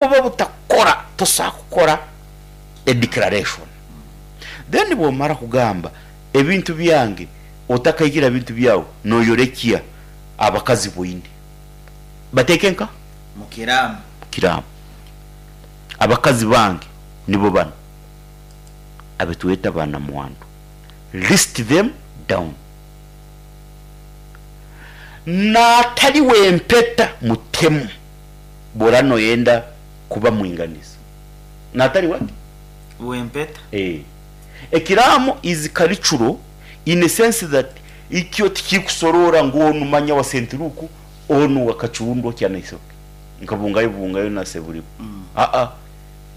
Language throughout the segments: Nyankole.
Oba butakukora tosobola kukora a declaration. Then bwomara kugamba ebintu byange otakaikira bintu byawe noyorekya abakazi boine bateeke nka? Mukiramu. Mukiramu. Abakazi bange nibo banu abetweta ba namwandu. List them down. Natari wempeta mutemu. Bw'oraba noyenda kuba mwinganiza natari what? W'empeta. Eeh. Ekiraamo is cultural in a sense that ikyo tikirikusoroora ngu onu manya wa St Luke, onu wa Kacundwa Kyanaisoke, nka Bungayo Bungayo na Seburiba. Aa,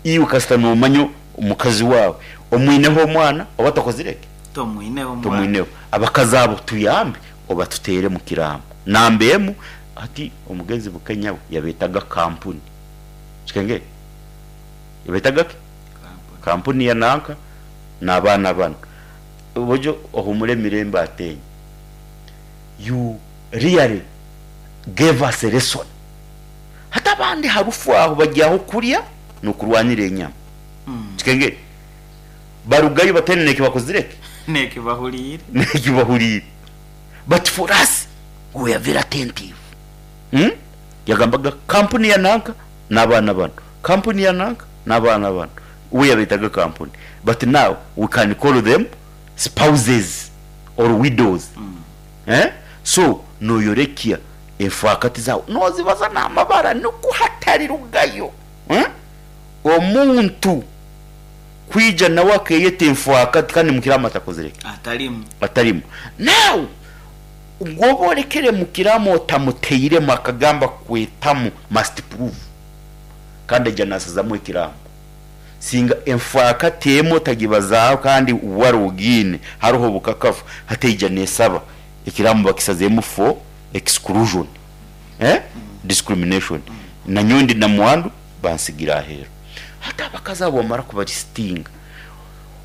iwe kasita nomanya omukazi waawe omwineho omwana oba tokozire ki? Tomwineho omwana. Tomwineho. Abakazi abo tuyambe obatuteere mu kiraamo. Namba emu. Hati omugenzi Bukenya we yabeetaga kampuni. Kikengeri? Yabeetaga ki? Kampuni ya nanka n'abaana banu. Bojo ohumure emirembe Ateenyi. You really gave us a lesson. Hati abandi harufu aho bari aho kurya n'okurwanira enyama. Kikengeri? Barugayo bataine n'eki bakozire ki? N'eki bahuriire. N'eki bahuriire. But for us we were very attentive umm yagambaga kampuni ya nanka nabaana banu, kampuni ya nanka nabaana banu, we yabetaga kampuni but now we can call them spouses or widows eh so noyorekya enfaakati zaawe nozibaza namabara nikwo hatarirugayo eh omuntu kwija nawe akeyeta enfaakati kandi mukiramu atakozire ki? Atarimu. Atarimu. Now gwoba orekere mukiramu otamuteiremu akagamba kwetamu must prove kandi aija nasazamu ekiramu. Singa enfaakati emwe otagibazaaho kandi wari ogiine haroho obukakafu hati eija nesaba ekiramu bakisazemu for exclusion eh discrimination nanyowe ndi namwandu bansigira aheeru. Hati abakazi abo wamara kubarisitinga,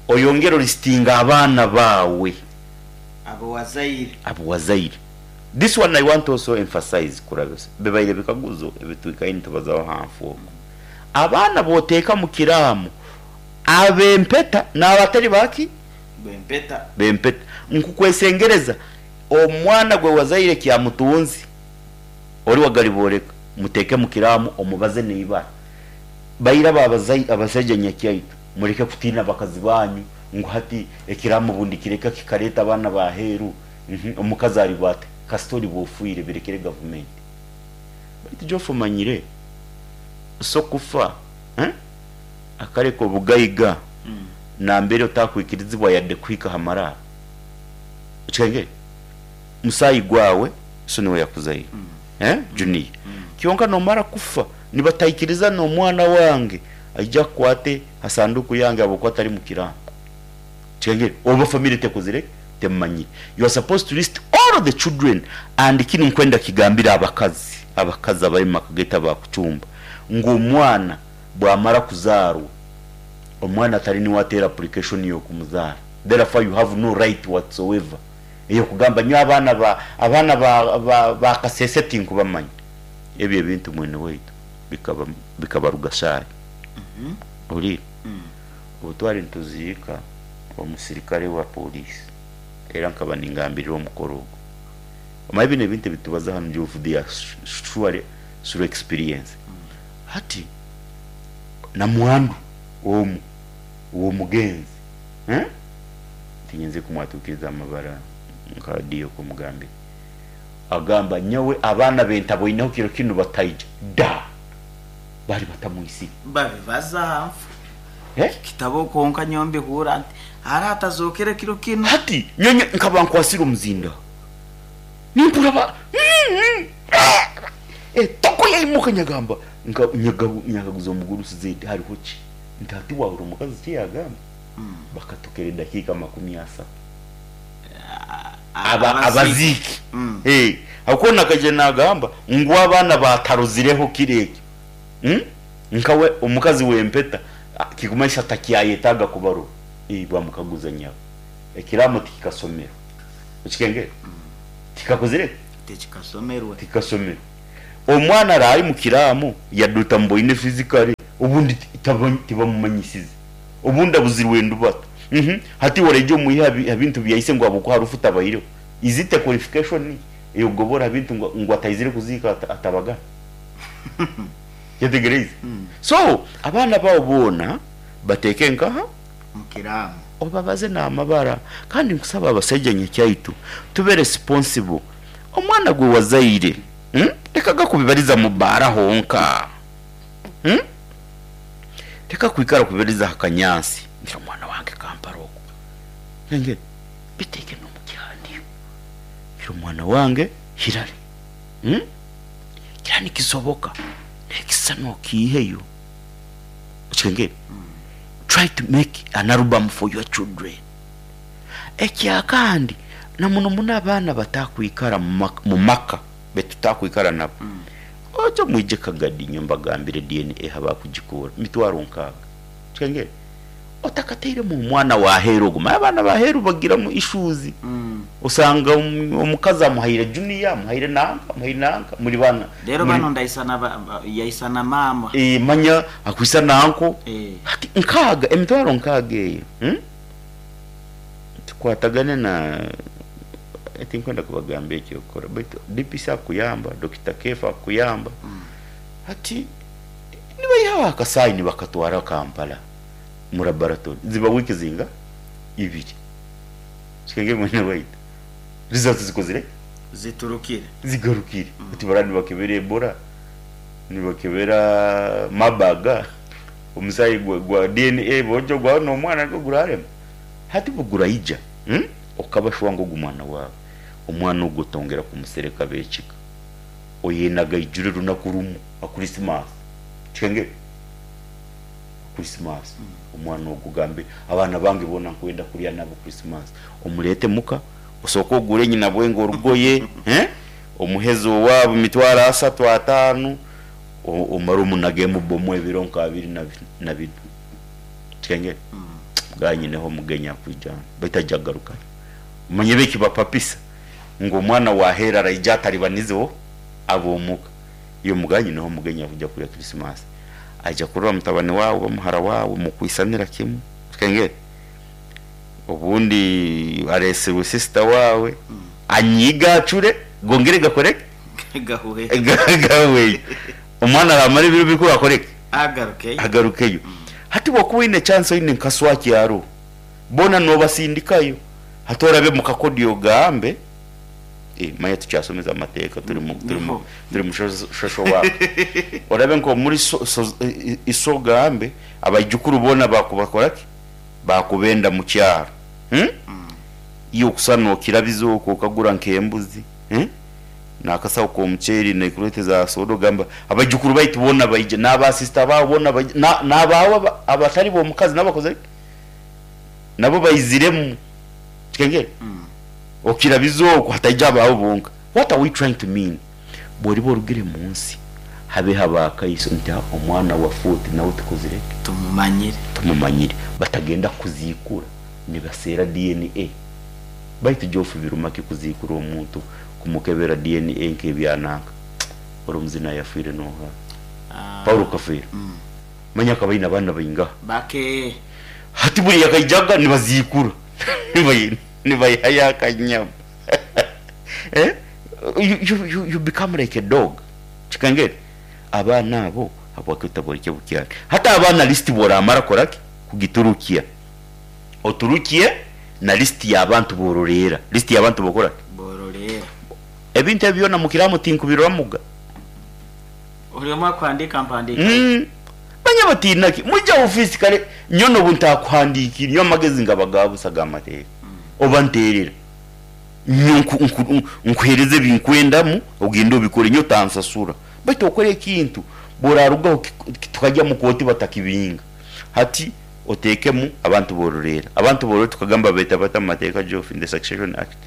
oyongere orisitinge abaana baawe. Abu wazaire. Abu wazaire. This one I want to also emphasize kurabisa, bibaire bikaguzo ebitwikaire nitubazaho aha nfu oku. Abaana b'oteeka mu kiraamu, ab'empeta n'abatari ba ki? B'empeta. B'empeta. Nkukwesengereza, omwana gwe wazaire kyamutunzi, ori wagaribooreka, muteeke mu kiraamu omubaze n'eibara. Baira ba abasaija nyakyaitu, mureke kutiina abakazi banyu ngu hati ekiraamo obundi kireka kikareeta abaana ba aheeru. Omukazi ariba ata? Kasita oriba ofiire birekere gavumenti. Baitu Geoff omanyire so kufa akareka obugaiga nambere otakwikirizibwa yadde kuhika aha maraaro. Okihengere? Musaayi gwawe so niwe yakuzaire. Junior. Kyonka nomara kufa nibataikiriza n'omwana wange aije akwate ha sanduku yange ahabw'okuba tari mu kiraamo. Kihengere? Oba family tekozire ki? Temumanyire. You are supposed to list all the children and kinu nkwenda kigambire abakazi, abakazi abari mu maka gaitu aba kucumba, ngu omwana bwamara kuzaarwa, omwana tari niwe ateera application y'okumuzaara. Therefore you have no right whatsoever ey'okugamba nyowe abaana ba abaana ba ba ba Kasese tinkubamanya. Ebyo ebintu mwene waitu bikaba bikabaruga shaaha. Ohuriire? Obu twari nituziika omusirikare wa pooriisi, era nkaba ningambirira omukoro ogwo. Omanye binu ebintu ebi tubaza hanu Jove they are surely through experience. Hati namwandu omwe ow'omugenzi, Tinyenzire kumwatuukiriza amabara nka Dio kumugambira. Agamba, Nyowe abaana be ntaboineho kiro kinu bataija. Da! Baali batamwisire. Babibaza aha nfu. Kitabo kwonka nyowe mbihuura nti, Hare atazookere kiro kinu. Hati nyowe nkaba nkwasire omuzindaaro. Nimpurira ba, Etoko yaimuka nyagamba, nyakaguza omugurusi Zedi, hariho ki? Nti hati waahurira omukazi eki yaagamba? Bakatukira edakiika 30. Aba abaziiki. Ahabw'okuba onu akaija naagamba ngu abaana baatarozireho kiro ekyo. Nkawe omukazi w'empeta kirikumanyisa takyayetaaga kubarora. Baamukaguza nyabo, ekiraamo tikikasomerwe. Okikengera? Tikakozire ki? Tikikasomerwe. Tikikasomerwe. Omwana araba ari mu kiraamo yadde otamuboine physically obundi tibamumanyisize obundi abuzirwe endubata uhmm hati iwe oraija omwihe aha bintu bya ise ngu ahabw'okuba harufu tabaireho is it a qualification ey'okugobora aha bintu ngu ataizire kuziika atabagana? Kyetegereize? So abaana baawe boona bateeke nkaha? Mu kiraamo. Obabaze n'amabara kandi nkusaba abasaija nyakyaitu tube responsible omwana gwe wazaire Leka gakubibaliza mu bbaara honka. Leka kwikara kubibaliza ha kanyansi nti omwana wange kampara oku. Nenge biteeke n'omu kihandiiko. Ngira omwana wange Hillary. Kira nikisoboka n'ekisisani okiiheyo. Okitegeire? Try to make an album for your children. Ekyakandi, na muno muno abaana abatakwikara mu maka betutakwikara nabo, oje mwije Kagadi nyowe mbagambire DNA habakugikura mitwaro nkaaga. Okitegeire? Otakatairemu omwana wa aheeru ogu, manya abaana ba aheeru bagiramu issues, osanga omukazi amuhaire junior, amuhaire nanka, amuhaire nanka, muri baana. Reero banu ndaisana yaisana maama. Manya akwisana anko, hati nkaaga, emitwaro nkaaga eyo. Tukwatagane na tinkwenda kubagambira eky'okukora baitu DPC akuyamba, Dokita Kefa akuyamba. Hati nibaihaho akasaayi nibakatwara Kampala mu laboratory ziba wiiki zinga? Ibiri. Kikenge mwene waitu results zikozire ki? Ziturukire. Zigarukire. Hati baraba nibakebera Ebola, nibakebera Marburg, omusaayi gwa DNA boogye gwawe n'omwana nigwo gurarema. Hati bwe guraija, okaba shuwa ngu ogu mwana waawe, omwana ogu otongera kumusereka ab'ekika. Oyenaga aijure runaku rumu ha Krisimaasi. Kikengere? Ha Krisimaasi. Omwana ogu ogambe, abaana bange boona nkwenda kurya nabo Krisimaasi. Omureete muka, osooke ogure nyina bwenge orugoye, omuheze owaabo emitwaro asatu, ataano, omare omunagemu bomu ebiro nka abiri na bina. Kikengere? Bwa nyineho omugenyi akwija hanu, baitu aija kugarukayo. Omanye ebi ekibapapisa ngu omwana wa aheeru araija ataribanizeho ab'omuka. Iwe muga nyineho omugenyi akwija kurya Krisimaasi. Aija kurora mutabani waawe oba muhara waawe mukwisanira kimu. Kikengere? Obundi areesirwe sisita waawe, anyiige acure, gongere gakore ki? Gahuhe. Gahuheyo. Omwana araamara ebiro bikuru akore ki? Agarukeyo. Agarukeyo. Hati bw'okuba oine chance oine nka swaki aroho, boona noobasindikayo. Hati orabe mu kakodyo ogambe, eh, manya tukyasomeza amateeka turi mu turi mu Niho. turi mu social work. Orabe nk'omuri so so iso ogambe abaijukuru boona baakubakora ki? Baakubenda mu kyaro. Iwe okusa nookirabiza okwo okagura nk'embuzi, N'akasaho k'omuceeri n'ekureti za soda ogamba abaijukuru baitu boona baije, n'aba sisita baawe boona baije, na n'abaawe abatari b'omukazi nabo bakozire ki? Nabo baiziremu. Kikengere? Okirabiza okwo hataija abaawe bonka. What are we trying to mean? Bw'oriba orugire mu nsi, habeho abaakaiso nti omwana wa Futi nawe tukozire ki? Tumumanyire. Tumumanyire. Batagenda kukuziikura nibaseera DNA. Baitu Geoff biruma ki kuziikura omuntu kumukebera DNA nk'ebya nanka? Ori omuzini ayafwire noha? Paulo Kafeero. Manya akaba aine abaana baingaha? Bake. Hati buri yakaijaga nibaziikura nibaihayo akanyama. Eh? You, you, you, you become like a dog. Kikangere? Abaana abo habwaki otaborekye bukyari? Hati abaana list bworamara kora ki? Kugiturukia. Oturukie na list y'abantu b'ororeera. List y'abantu b'okora ki? B'ororeera. Ebintu ebi byona mukiramu tinkubiroramuga. Buri omwe akuhandiika mpandiika ye. Manya batiina ki? Mwije aha ofiisi kare nyowe n'obu ntakuhandiikire nyowe amagezi ngaba ga busa g'amateeka. Oba nteerera. Nyowe nku nku nkuheereze ebi nkwendamu ogende obikore nyowe otansasura. Baitu okore ekintu bw'oraarugaho tukagya mu kooti batakibinga. Hati oteekemu abantu b'orureera. Abantu b'orureera tukagamba babeeta bata omu mateeka Geoff in the Succession Act?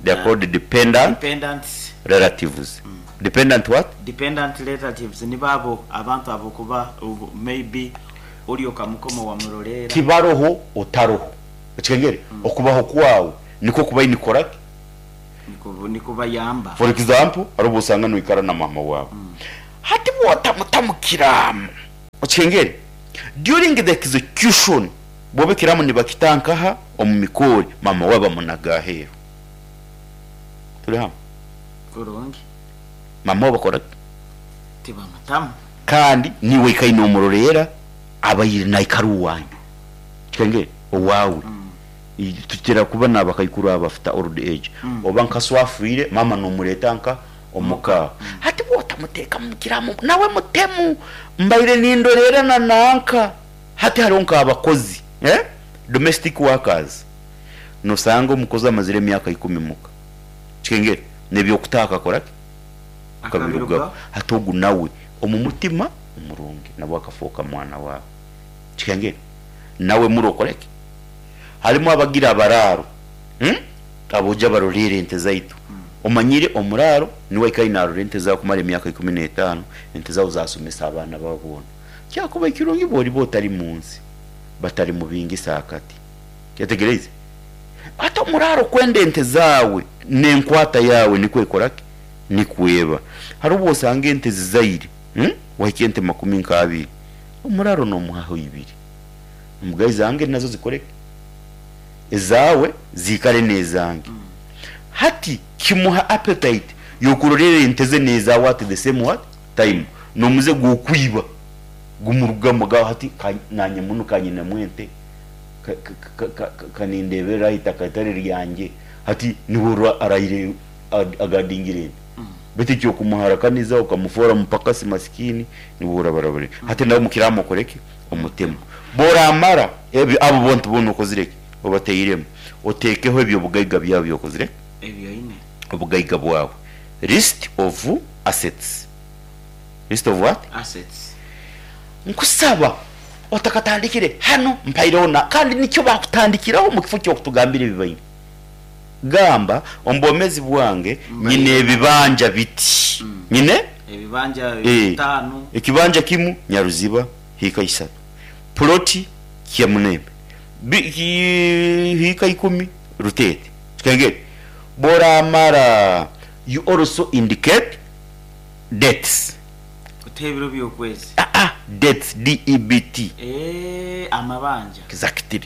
They are called dependant Dependants. relatives. Dependant what? Dependant relatives nibo abo abantu abokuba maybe ori okamukoma owamuroreera. Tibaroho otaroho. Okitegeire? Okubaho kwawe nikwo kubaine kukora ki? Nikubayamba. For example, hariho obu osanga noikara na maama waawe. Hati bwotamuta mu kiraamo, okihengere? During the execution, bwoba ekiraamo nibakita nkaha? Omu mikoori, maama waawe bamunaga aheeru. Turi hamwe? Kurungi. Maama waawe bakora ki? Tibamutamu. Kandi niiwe oikaire nomuroreera, abaire naikara owaanyu. Okihengere? Owaawe. Tukira kuba nabakaikuru abafite old age, oba nka so afiire, maama nomureeta nka omuka. Hati bwotamuteekamu mukiraamo, nawe mutemu. Mbaire nindoreera na nanka. Hati hariho nk'abakozi, eh, domestic workers, nosanga omukozi amazire emyaka ikumi muka. Okihengere? Nebyokutaaha akakora ki? Akabirugaho. Hati ogu nawe omu mutima omurungi nabwo akafooka mwana waawe. Okihengere? Nawe mure okore ki? Harimu abagira abaraaro aboojo abaroreera ente zaitu. Omanyire omuraaro niwe aikaire naarora ente zaawe kumara emyaka 15, ente zaawe zaasomesa abaana baawe boona. Kyakuba kirungi bw'oriba otari mu nsi, batarimubingisa akati. Kyetegereize? Hati omuraaro kwenda ente zaawe n'enkwata yaawe nikwo ekora ki? Nikwo eba. Hariho obu osanga ente zizaire, wahikya ente makumi nk'abiri, omuraaro noomuhaho ibiri. Mbwa ezange nazo zikore ki? Ezaawe ziikare n'ezange. Hati kimuha appetite y'okurorera ente ze n'ezaawe at the same what? Time. N'omuze gw'okwiba gumurugamu agamba hati nanye munu ka nyinemu ente, ka nindeeberera aha itaka ritari ryangye, hati niwe orwa arahire agadingire ente. Beitu eky'okumuharakaniza okamufoora mupakasi masikini, niwe orabarabare. Hati nawe mukiramu okore ki? Omutemu. Bw'oramara ebyo, abo bontu boona okozire ki? Obateiremu. Oteekeho eby'obugaiga byawe ebi okozire ki? Ebi oine. Obugaiga bwawe. List of assets. List of what? Assets. Nkusaba otakatandikire hanu mpaireho na kandi nikyo bakutandikiraho omu kifo ky'okutugambira ebi baine. Gamba, omu bwomeezi bwange nyine ebibanja biti. Nyine? Ebibanja bitaano. Ekibanja kimu Nyaruziba hiika isatu, puloti Kyamunembe hiika ikumi Ruteete. Kikengeri bworamara you also indicate dates. Oteho ebiro by'okwezi. Aa debts, D-E-B-T. Eeh amabanja. Exactly.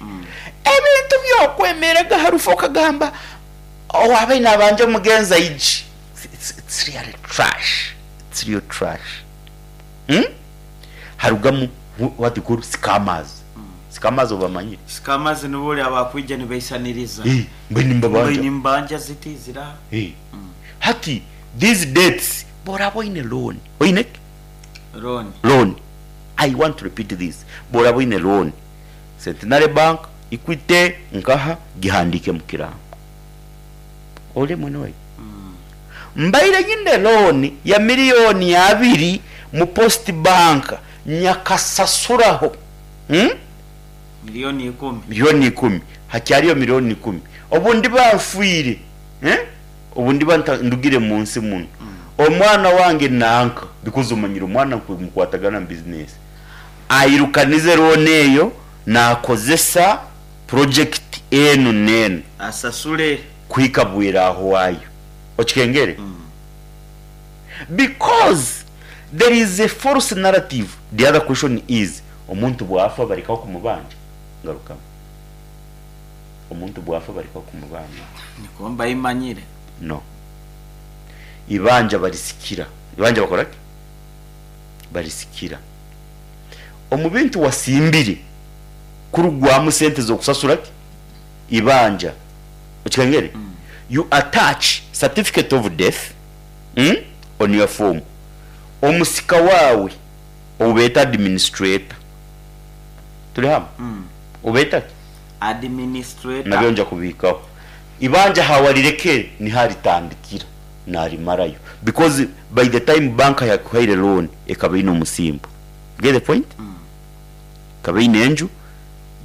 Ebintu by'okwemerega aha rufu okagamba owaabaire naabanja omugenzi aije. It's really trash. It's real trash. Hmm? Harugamu what you call scammers. Scammers obamanyire? Scammers nibo ori abakwija nibaisaniriza. Eh, mbwenu nimbabanja. Mbwenu nimbanja ziti ziraha. Eh. Hati these debts bworaba oine loan, oine ki? Loan. Loan. I want to repeat this. Bworaba oine loan, Centenary Bank, Equity, nkaha, gihandiike mu kirango. Ori mwene waitu. Mbaire nyine loan ya milioni abiri mu Post Bank nyakasasuraho. Hmm? Milioni ikumi. Milioni ikumi. Hakyariyo milioni ikumi. Obu ndiba nfiire, eh? Obu ndiba ndugire mu nsi munu, omwana wange nanka, because omanyire omwana mukwatagana mu business, airukanize loan eyo nakozesa project enu n'enu. Asasule. Kuhika bwire ahwayo. Okikengere? Because there is a false narrative. The other question is, omuntu bwafa barekaho kumubanja? Ngarukamu. Omuntu bwafa barekaho kumubanja? Nikwo mbaimanyire. No. Ibanja barisikira. Ibanja bakora ki? Barisikira. Omu bintu wasimbire kurugwamu sente z'okusasura ki? Ibanja. Okikengere? You attach certificate of death on your form. Omusika waawe ou beeta administrator. Turi hamwe? Obeeta ki? Administrator. Nabyo nja kubihikaho. Ibanja aha warirekere niho aritandikira narimarayo because by the time bank yakuhaire loan ekaba eine omusimbo. Get the point? Ekaba eine enju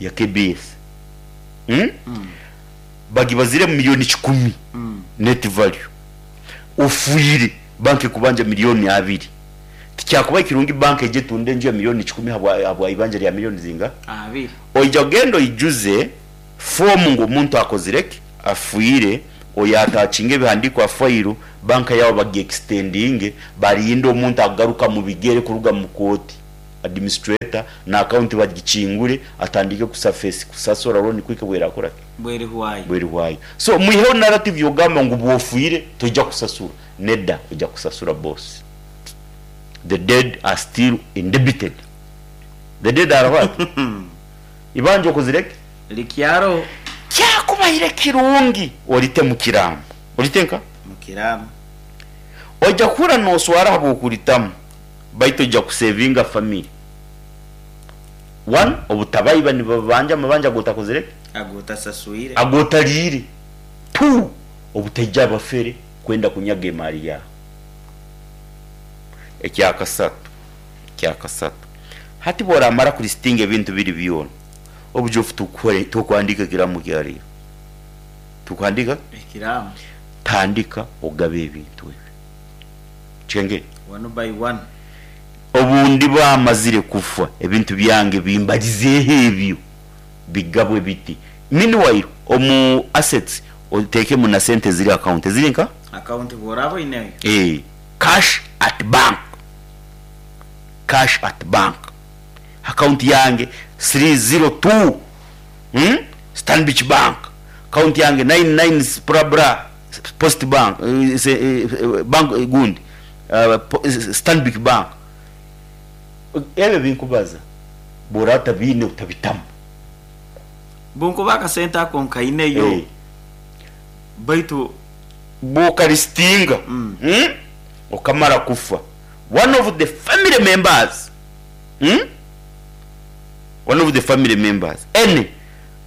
ya KBS. Bagibazire milioni kikumi net value. Ofwire bank ekubanja milioni abiri. Tikyakubaire kirungi bank eije etunde enju ya milioni kikumi ahabwa ibanja rya milioni zingaha? Abiri. Oija kugenda oijuze foomu ngu omuntu akozire ki? Afiire. Oyaatakinga ebihandiiko aha fayiro, banka yaabo bagiekisitendinge, barinde omuntu akugaruka mu bigere kuruga mu kooti, administrator, na akawunti bagikingure atandike kusafesi kusasura looni kuhika obu eraakora ki? Bwerihwayo. Bwerihwayo. So mwiheho narrative y'okugamba ngu bw'ofiire toija kusasura. Nedda, oija kusasura boss. The dead are still indebted. The dead are what? Ibanja okozire ki? Rikyaro. Kyakubaire kirungi orite mu kiraamo. Orite nka? Mu kiraamo. Oija kuhurra noswara ahabw'okuritamu, baitu oija kusevinga family. One, obutabaiba nibabanja amabanja agotakozire ki? Agotasaswire. Agotariire. Two, obutaija abafere kwenda kunyaga emaari yaawe. Ekyakasatu, ekyakasatu, hati bworamara kulistinga ebintu biri byona, Obujofu tukukore tokuhandiika ekiraamo kya reero. Tukuhandiika? Ekiraamo. Tandika ogabe ebintu ebi. Kyenge? One by one. Obu ndiba mazire kufa, ebintu byange bimbarizeeho ebyo bigabwe biti. Meanwhile, omu assets oteekemu na sente eziri account. Eziri nka? Account bw'oraaba oineyo. Eeh, cash at bank. Cash at bank. Account yange 302 hmm Stanbic bank account yange 99 bra post bank bank gundi Stanbic bank ebyo ebinkubaza bworaba otabiine otabitamu. Bunkuba akasente ako nkaineyo baitu. Bwokarisitinga okamara kufa one of the family members. Hmm? One of the family members, any,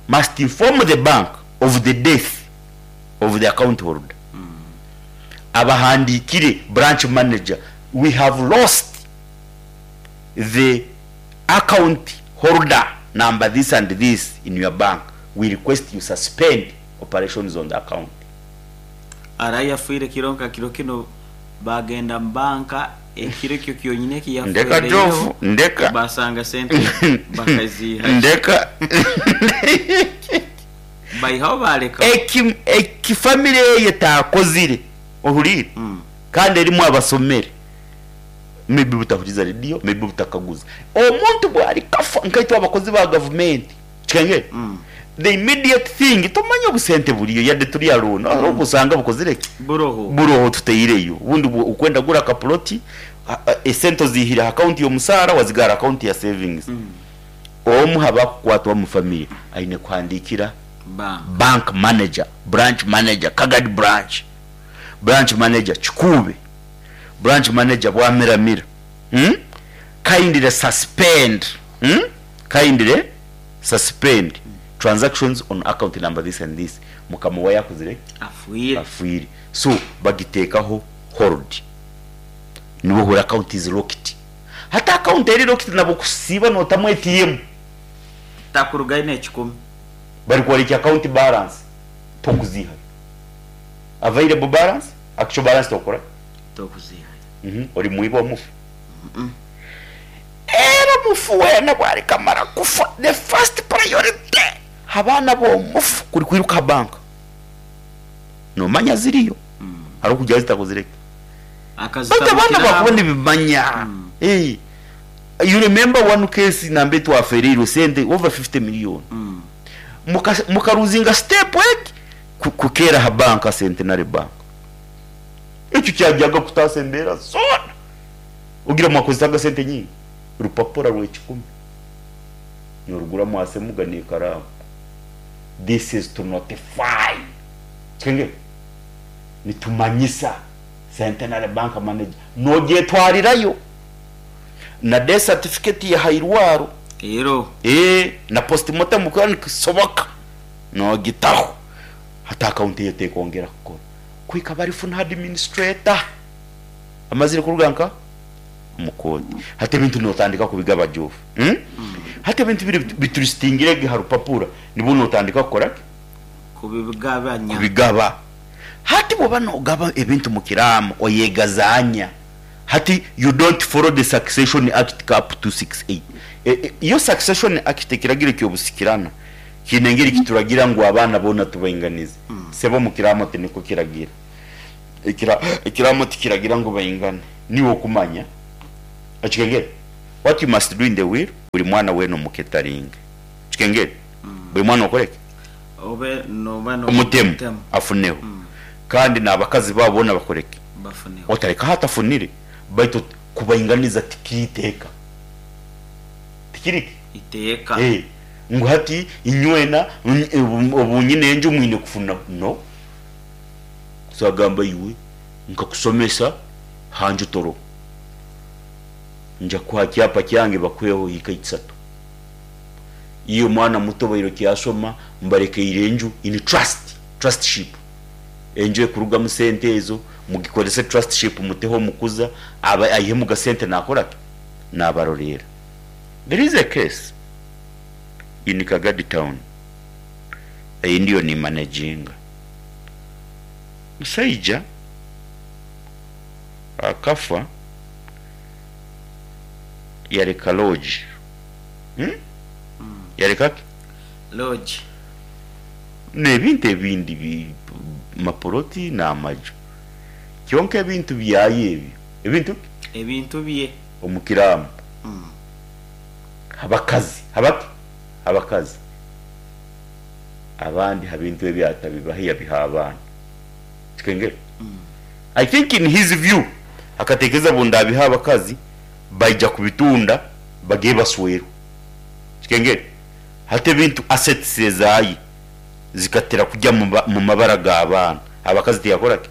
must inform the bank of the death of the account holder. Abahandiikire branch manager, we have lost the account holder number this and this in your bank, we request you suspend operations on the account. Arahi afiire kiro nka kiro kinu Baagenda mu banka ekiro ekyo kyonyini eki Ndeka Jofu, yafereireho, ndeka. baasanga sente bakaziihayo. Ndeka. Baihaho baalekaho. Eki, eki famire eyo etaakozire, ohuriire? Kandi erimu abasomere, maybe butahuriza rediyo, maybe butakaguza. Omuntu bwarikafa, nkaitwe abakozi ba gavumenti, Kikangire? The immediate thing tomanya obu sente buriyo yade turi alone hariho obu osanga bukozire ki? Buroho. Buroho tuteireyo obundi okwenda kugura aka plot esente ozihire aha account y'omusaara wazigara aha account ya savings. Omu ha bakukwatwa omu family aine kuhandikira Bank. bank manager, branch manager, Kagadi branch, branch manager Kikuube, branch manager Bwamiramira, kindly suspend. Kindly suspend transactions on account number this and this mukama owaye akozire ki? Afwire. Afwire. So bagiteekaho hold niwe ohurira account is locked. Hati account eri locked nabwo kusiiba notamu ATM. Takurugayo nekikumi. Bari kworeka account balance tokuzihayo. Available balance, actual balance tokora ki? Tokuzihayo. Ori mwiba omufu. Era omufu weena obu arikamara kufa, the first priority ha baana b'omufu kuri kwiruka aha banka. Noomanya ziriyo, hariho kugira zitakozire ki? Baitu abaana bakuba nibimanya. You remember one case nambere twafereirwe sente over 50 million. Mukaruzinga step egi kukeera aha banka Centenary Bank. Ekyo kyagyaga kutaasa embeera zoona. Ogira mwakozesaga sente nyingi? Rupapura rw'ekikumi norugura mwasemuga n'ekaraamu. This is to notify. Kikengera? Nitumanyisa Centenary Bank manager nogyetwarirayo na death certificate ya hairwaro. Ero. Ee, na postmortem kuba nikisoboka nogitaho. Hati akawunti eyo tekwongera kukora kuhika barifuna administrator. Amazire kuruga nka omu kooti. Hati ebintu notandika kubigaba Geoff. Hmm? Hati ebintu biri bitulistingire ge ha rupapura nibwo notandika kukora ki? Kubigabanya. Kubigaba. Hati bwoba nogaba ebintu mu kiraamo oyegazaanya. Hati you don't follow the Succession Act Cap 268. E, e, iyo Succession Act ekiragiro ky'obusikirana. Kiine engeri kituragira ngu abaana boona tubainganize. Sebo omu kiraamo tinikwo kiragira. Ekiraamo tikiragira ngu baingane. Niiwe okumanya. Okikengere? What you must do in the will, buri mwana weena omuketaringe. Okikengere? Buri mwana okore ki? Obe noba Omutemu nomutemu. afuneho. Kandi n'abakazi baabo boona bakore ki? Bafuneho. Otarekaho atafunire, baitu kubainganiza tikiri iteeka. Tikiri ki? Iteeka. Eh, ngu hati inywena obu nyine enju mwine kufunaho. No. So agamba iwe nkakusomesa ha nju toroho. Nja kuha kyapa kyange bakuheho hiika isatu. Iwe mwana muto obaire okyasoma mbarekeire enju in trust, trustship. Enju ekurugamu sente ezo mugikorese trustship muteho omukuza abe aihemu gasente nakora ki? Nabaroreera. There is a case in Kagadi town ei ndiyo ni managinga. Omusaija akafa yareka lodge. Yareka ki? Lodge. N'ebintu ebindi bi mapoloti n'amaju. Kyonka ebintu byayo ebyo, ebintu ki? Ebintu bye. Omu kiraamo. Abakazi, habaki? Abakazi. Abandi ha bintu ebi atabibahe yabiha abaana. Kikengera? I think in his view akatekereza bu ndabiha abakazi baija kubitunda bageye baswerwe. Kikengera? Hati ebintu assets ezaye zikatera kugya mu mabara g'abaana. Abakazi tiyakora ki?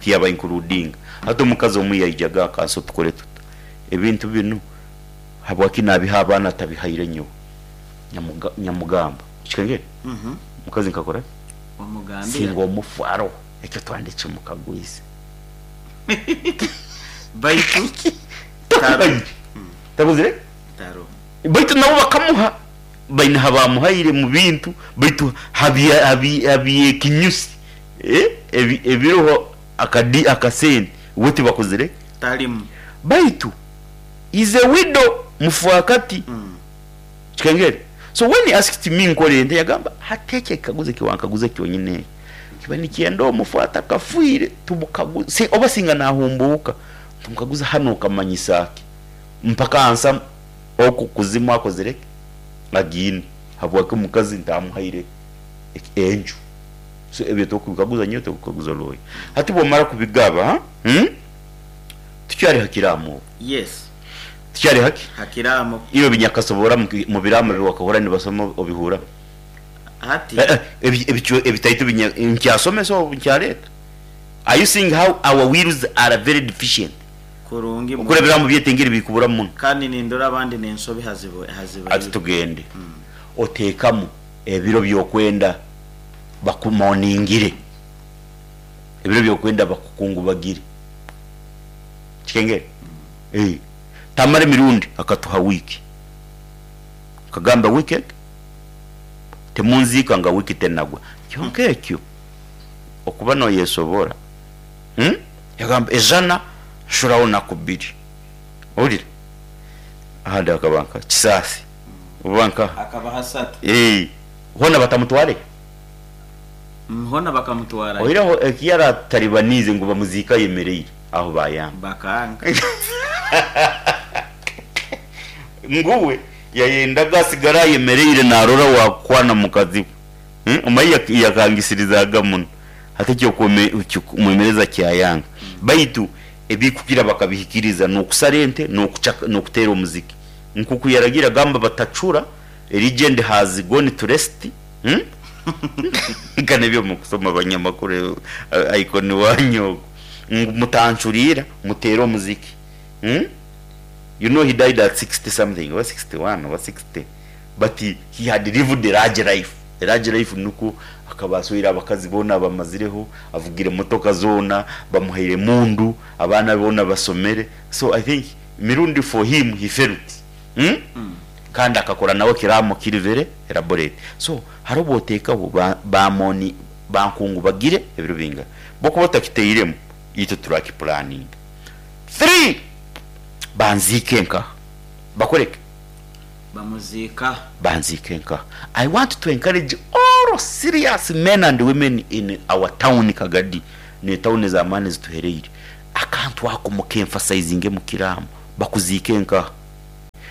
Tiyaba includinga. Hati omukazi omu yaijaga akansa tukore tuta? Ebintu binu habwaki nabiha abaana atabihaire nyowe? Nyamugamba. Kikengera? Omukazi nkakora ki? Wamugambira. Singa omufu aroho, ekyo twandikye mukagwize. Baitu taroho. Takozire ki? Taroho. Baitu nabo bakamuha, baine habamuhaire mu bintu, baitu habyekinyusi ebiroho akasente, we tibakozire ki? Tarimu. Baitu is a widow, mufaakati. Kikengere? So when he asked me nkore nta, yagamba hati ekyo ekikaguzo eki wankaguza kyonyine ekyo kiba nikyenda omufu atakafiire tumukaguze, oba singa nahumbuuka tumukaguze hanu okamanyisa ki mpaka ansa oku kuzimu akozire ki agiine habwaki omukazi ntamuhaire enju. So ebyo tokubikaguza nyowe tokubikaguza lawyer. Hati bwomara kubigaba, tukyari ha kiraamo obu. Yes. Tukyari haki? Ha kiraamo. Iwe binyakasobora mu biraamo ebi wakahurra nibasoma obihurra? Hati. Ebitaito nkyasomesa obu nkyaleeta? Are you seeing how our wills are very deficient? Kurungi Okuri ebiraamo byaitu engeri birikuburamu muno. Kandi nindora abandi n'ensobi hazibaire. Hati tugende. Oteekamu ebiro by'okwenda bakumoningire, ebiro by'okwenda bakukungubagire. Kikengere? Ee. Tamara emirundi akatuha wiiki. Akagamba wiiki egi timunziika nga wiiki tenagwa. Kyonka ekyo okuba noyesobora, hmm? Yagamba ejana nshuraho naku bbiri. Ohurira? Ahandi hakaba nka Kisaasi oba nkaha? Akaba hasatu. Ee. Hoona batamutware? Hoona bakamutwarayo. Oihireho eki yarataribaniize ngu bamuziike ayemereire, aho bayanga. Bakanga. Ngu we yayendaga asigare ayemereire narora owakukwana mukazi we. Omaye yakangisirizaga muno. Hati eky'okumwemereza kyayanga. Baitu ebikukira bakabihikiriza n'okusara ente n'okuteera omuziki. Nkoku yaragiire agamba batacura, a legend has gone to rest. Nka n'ebyo mukusoma banyamakuru icon wanyu ogwo. Ngu mutancuriira, muteere omuziki. You know he died at 60 something oba 61 oba 60 but he had lived a large life. A large life nikwo akaba asweire abakazi boona abamazireho, avugire motoka zoona, bamuhaire emundu, abaana be boona basomere. So I think Mirundi for him he felt. Kandi akakora nawe ekiraamo kiri very elaborate. So hariho obu oteekaho ba mourn bankungubagire ebiro bingahi. Bwokuba otakiteiremu itwe turakipulaninga. Three, banziike nkaha? Bakore ki? Bamuziika. Banziike nkaha? I want to encourage all serious men and women in our town Kagadi ne town ez'amaani ezituhereire, akantu ako muka emphasizinge mukiramu, bakuziike nkaha?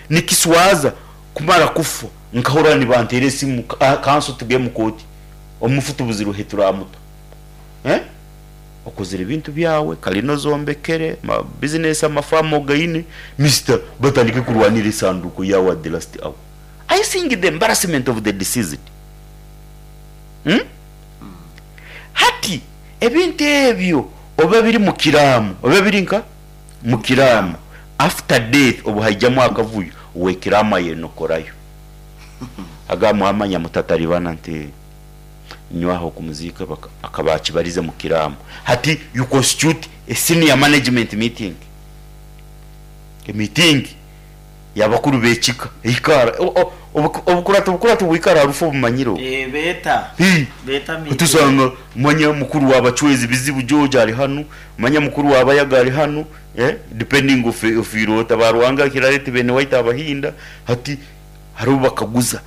Nikiswaza kumara kufa nkahurira nibanteera esimu, kanso tuge omu kooti, omufu tubuzirwe ahi turamuta. Eh? Okozire ebintu byawe, kalina ozombekere, ma business amafaamu ogaine, Mister batandike kurwanira esanduuko yaawe at the last hour. Are you seeing the embarrassment of the deceased? Hmm? Hati ebintu ebyo oba biri mu kiraamo, oba biri nka mu kiraamo, after death obu haijamu akavuyo, ow'ekiraamo ayenokorayo. Agamba mwamanya mutataribana nti nyowe aho okumuziika akaba akibarize mu kiraamo. Hati you constitute a senior management meeting, emiitingi y'abakuru b'ekika eikaara, obukurati obukurati bwikara aha rufu obumanyire obu. Beeta, Hii, beeta meeting. Tusanga manya mukuru wa Bachwezi Bizibu George ari hanu, manya mukuru wa Bayaga ari hanu, depending ofiire ota, ba Ruhanga Kirareti beene waitu Abahinda, hati hariho obu bakaguza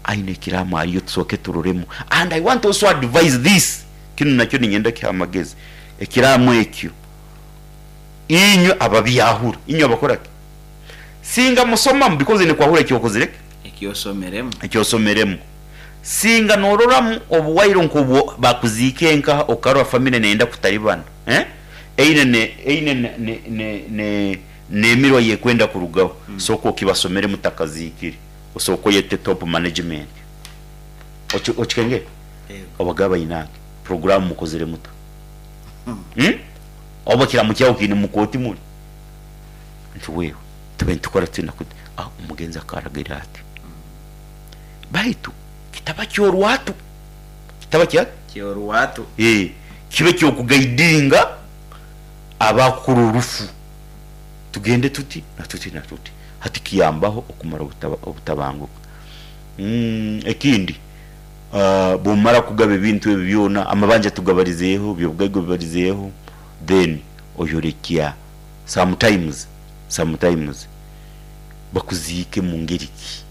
Aine ekiraamo ariyo tusooke turoremu and I want also advise this, kinu nakyo niinyenda kihe amagezi, ekiraamo ekyo inywe ababyahura, inywe abakora ki? Singa musomamu because oine kwahura eki okozire ki? Eki osomeremu. Eki osomeremu. Singa nororamu obuwaire nk'obu bakuziika enkaha okarora family neyenda kutaribana, eh, eine ne eine ne ne ne ne n'emirwa y'ekwenda kurugaho, sooka okibasomere mutakaziikire. Osooke oyete top management okikengere obagambe bainange puroguramu mukozire muta? Oba ekiraamo kyawe kiine mukooti muri? Nti wewe tube nitukora tuti na kuti, omugenzi akaragira ati baitu kitaba kyorwatu, kitaba kya? Kyorwatu. Kibe kyokugaidinga abakukora orufu tugende tuti na tuti na tuti. Hati kiyambaho okumara obutabanguko. Ekindi, bwomara kugaba ebintu ebi byona, amabanja tugabarizeeho, ebyobugaiga obibarizeeho, then oyorekya sometimes, sometimes bakuziike mu ngeri ki?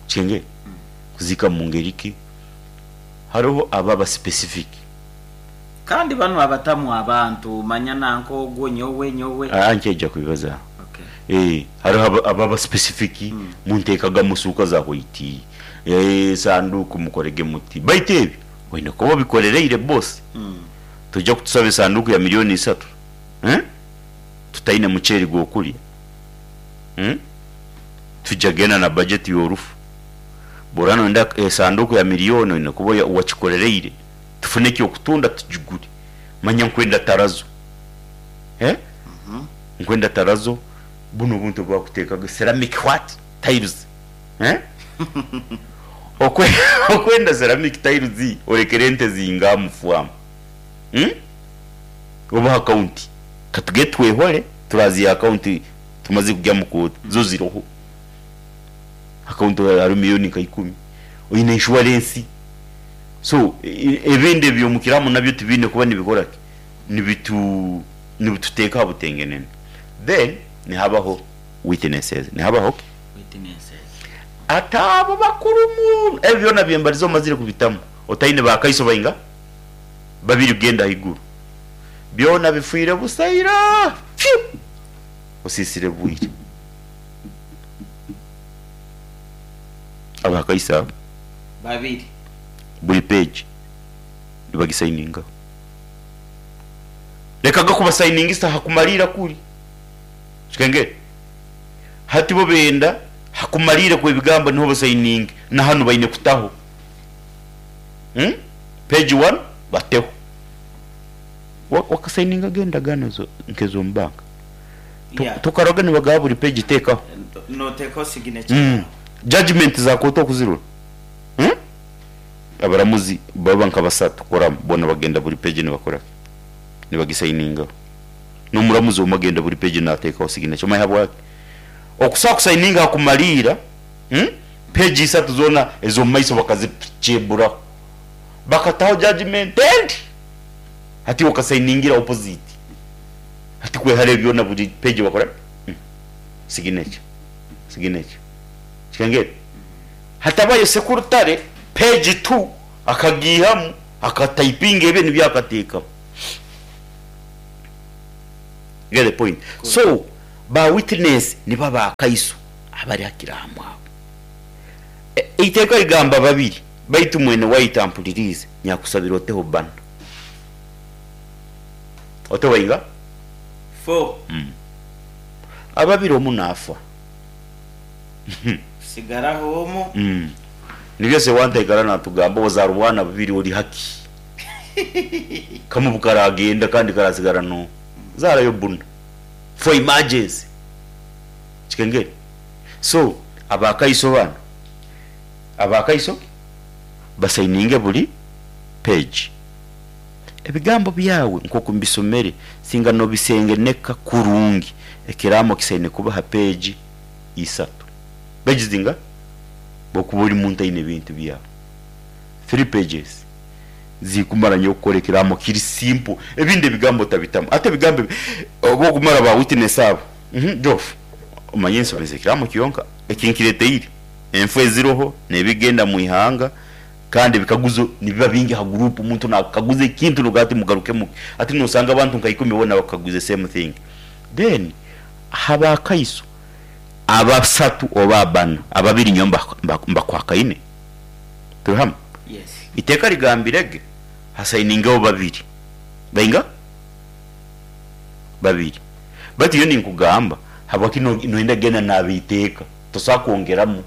Okitengere? Kuziika mu ngeri ki? Haroho abo aba specific. Kandi banu abatamu abantu, manya nanka ogwo, nyowe, nyowe. Aa nkyaija kubibazaho. Ee, hariho ababa specific, munteekagamu suuka za white, ee, sanduuku mukorege muti. Baitu ebyo oine kuba obikorereire boss. Toija kutusaba esanduuku ya milioni isatu, eh, tutaine muceeri gw'okurya, hmm, twija kugenda na budget y'orufu. Bw'oraba noyenda esanduuku ya milioni oine kuba wakikorereire. Tufune eky'okutunda tugigure. Manya nkwenda tarazo. Eh? Nkwenda tarazo, bunu obuntu obu bakuteekaga ceramic what? Tiles. Eh? Okwe okwenda ceramic tiles orekere ente zingaha omu faamu? Hmm? Oba aha kaunti. Katugende twehore, turaziiha aha kaunti tumaze kugya omu kooti, zo ziriho. Aha kaunti hariho milioni nka ikumi. Oine inshuwarensi. So ebindi eby'omukiramu nabyo tibiine kuba nibikora ki? Nibitu nibituteeka aha butengenene. Then nihabaho witnesses. Nihabaho ki? Witnesses. Ati abo bakuru muno. Ebi byona byembarize omazire kubitamu otaine bakaiso bainga? Babiri kugenda ahaiguru. Byona bifiire busa ira. Phew! Osiisire bwire. Abakaiso abo. Babiri. Buri page nibagisayiningaho. Lekaga kubasayiningisa hakumariira kuri. Kikengere? Hati bo benda hakumariira kwebigambo niho basayininge na hanu baine kutaho. Hmm? Page one bateho. Wakasayiningaga endagaano nkezomu banka? Yeah. Tokaroga nibagaba buri page teekaho. Noteekaho signature yaawe. Judgement za kooti okuzirora. Abaramuzi baba nka basatu koramu boona bagenda buri page nibakora ki? Nibagisayiningaho. N'omuramuzi omwe agenda buri page nateekaho signature. Omanya ahabwaki? Okusobola kusayininga aha kumariira, page isatu zoona ez'omu maiso bakazikyeburaho. Bakataho judgement endi. Hati iwe okasayiningira opposite. Hati kwehara ebyo byona buri page bakora ki? Signature. Signature. Kikengeri. Hatabayo sekurutare page tu akagiihamu akatayipinga ebye nibyo akateekamu. You get the point? So ba witness nibo abakaiso abari ha kiraamo abo. Eiteeka rigamba babiri baitu mwene waitu ampuririize nyakusabira oteho bana. Oteho bainga? Four. Ababiri omu naafa. Sigaraho omu. Nibyo Sewanta aikara natugamba ozaara obwana bubiri ori haki. Kamwe bukaragenda kandi karasigara no zaarayo buna for emergency. Kikengeri. So abakaiso banu abakaiso basayininge buri page. Ebigambo byawe nkoku mbisomere singa nobisengeneka kurungi ekiraamo kisaine kuba ha page isatu. Page zinga? Bwokuba ori muntu aine ebintu byawe. Three pages zikumara nyowe kukora ekiraamo kiri simple ebindi ebigambo otabitamu. Hati ebigambo ebi obu okumara ba witness abo Geoff omanye nsomesa ekiraamo kyonka eki nkireteire enfu eziroho nebigenda mwihanga kandi ebikaguzo nibiba bingi aha group omuntu nakukaguza ekintu nogira ati mugarukemu ki hati nosanga abantu nka ikumi boona bakukaguize same thing then aha ba kaiso abasatu oba abana ababiri nyowe mbakwakaine turi hamwe Yes. iteeka rigambire ge hasayiningeho babiri bainga babiri baitu nyowe ninkugamba habwaki noyenda kugenda nabeiteeka tosobola kwongeramu